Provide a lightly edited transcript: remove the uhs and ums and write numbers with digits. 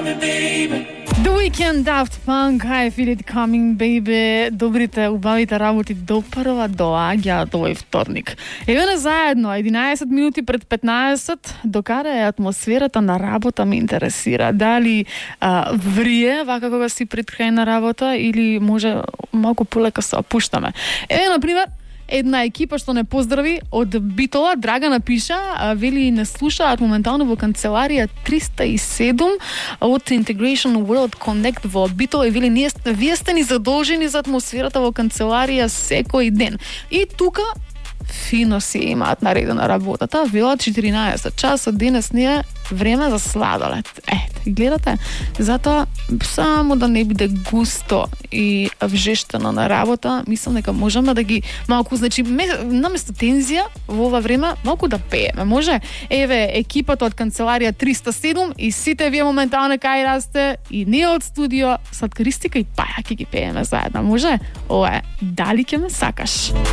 The Weeknd, Daft Punk, I Feel It Coming, Baby. Добрите, убавите работи допрва доаѓаат овој вторник. Еве на заедно, 11 минути пред 15, докаде е атмосферата на работа ме интересира. Дали врие вака кога си пред крај на работа или може малку полека се опуштаме. Еве, например, една екипа што не поздрави од Битола, Драгана пиша, вели не слушаат моментално во канцеларија 307 од Integration World Connect во Битола и вели вие сте ни задолжени за атмосферата во канцеларија секој ден. И тука фино си имаат наредена работата, велат 14 часа денес не е време за сладолед. Гледате, затоа само да не биде густо и вжештено на работа, мислам дека можеме да ги малку, значи наместо тензија во ова време малку да пееме. Може, еве екипата од канцеларија 307 и сите вие моментално кај расте и ние од студио Сладкаристика и Паја ќе ги пееме заедно. Може? Ова е Дали ќе ме сакаш.